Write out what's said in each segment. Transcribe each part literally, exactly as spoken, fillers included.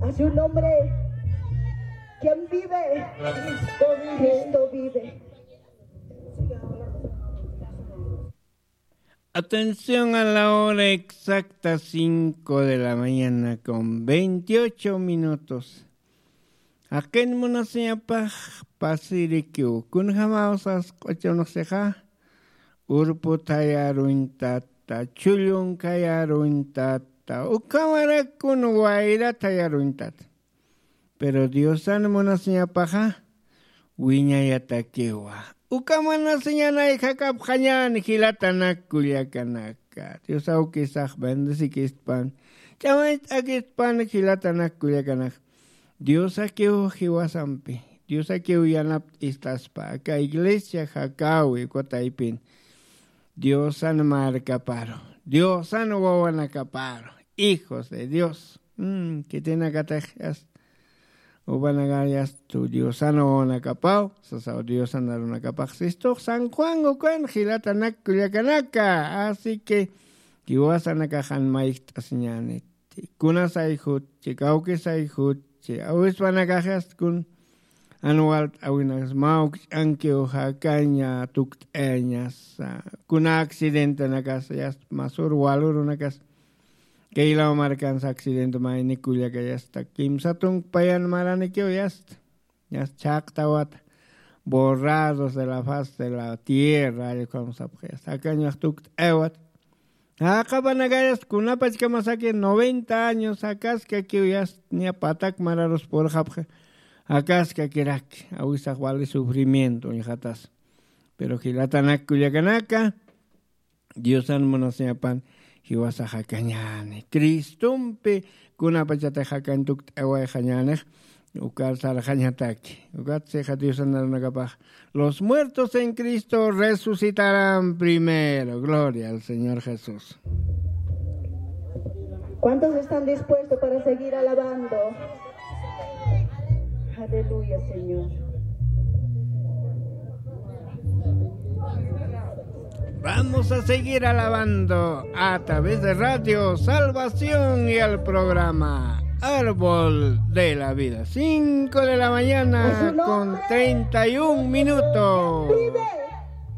A su nombre, quien vive, Cristo vive. Cristo vive. Atención a la hora exacta, cinco de la mañana con veintiocho minutos. Jaqin munasiñapax pasirikiw, kunjamaw sas q'uchunxsixa, urpu thayaruñtata, chullun khayaruñtata, ukhamarakun wayra thayaruñtata. Pero Diosan munasiñapaxa wiñayatakiwa. Uka munasiñanay jakapxañän jilatanak kullakanaka. Dios awkisax bendesikistpan, ch'amancht'akistpan jilatanak kullakanak. Diosakiw jiwasampi, Diosakiw yanapt'istaspa aka iglesia jakäwi uka taypin. Diosan markaparu, Diosan wawanakaparu, hijos de Dios. Mm, khitinakatix yasta, upanakar yasta Diosan wawanakapaw sasaw, Diosan arunakapax sistux San Juan ukan jilatanak kullakanaka. Así que jiwasanakax jan mayjt'asiñäniti, kunasay jutchi, kawkisay jutchi, awispanakax yasta kun jan walt'äwinakas mä ukch'ankiw jakaña tukt'ayañasa, kuna accidentenakas yasta masür walurunakas. Kaylaw markansa accidente mayni kullaka yasta kimsa tunka payan maranikiw yasta, yasta chhaqtawata, borrados de la faz de la tierra, allqukamsapxa yasta jakañax tukt'aywata. Jaqapanakayas kunapachkamasaki noventa años jakaskakiw yasta, niya patak mararus purxapxi, jakaskakiraki, awisax wali sufrimiento uñjatas. Pero jilatanak kullakanaka, Diosan munasiñapan jiwasax jakañäni. Cristompi kunapachatix jakañ tukt'awayxañänix, ukar sarxañataki. Ukat sixa Diosan arunakapax, los muertos en Cristo resucitarán primero. Gloria al Señor Jesús. ¿Cuántos están dispuestos para seguir alabando? Aleluya, Señor. Vamos a seguir alabando a través de Radio Salvación y el programa Árbol de la Vida. Cinco de la mañana con treinta y un minutos. Vive.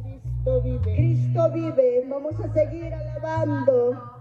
Cristo vive. Cristo vive. Vamos a seguir alabando.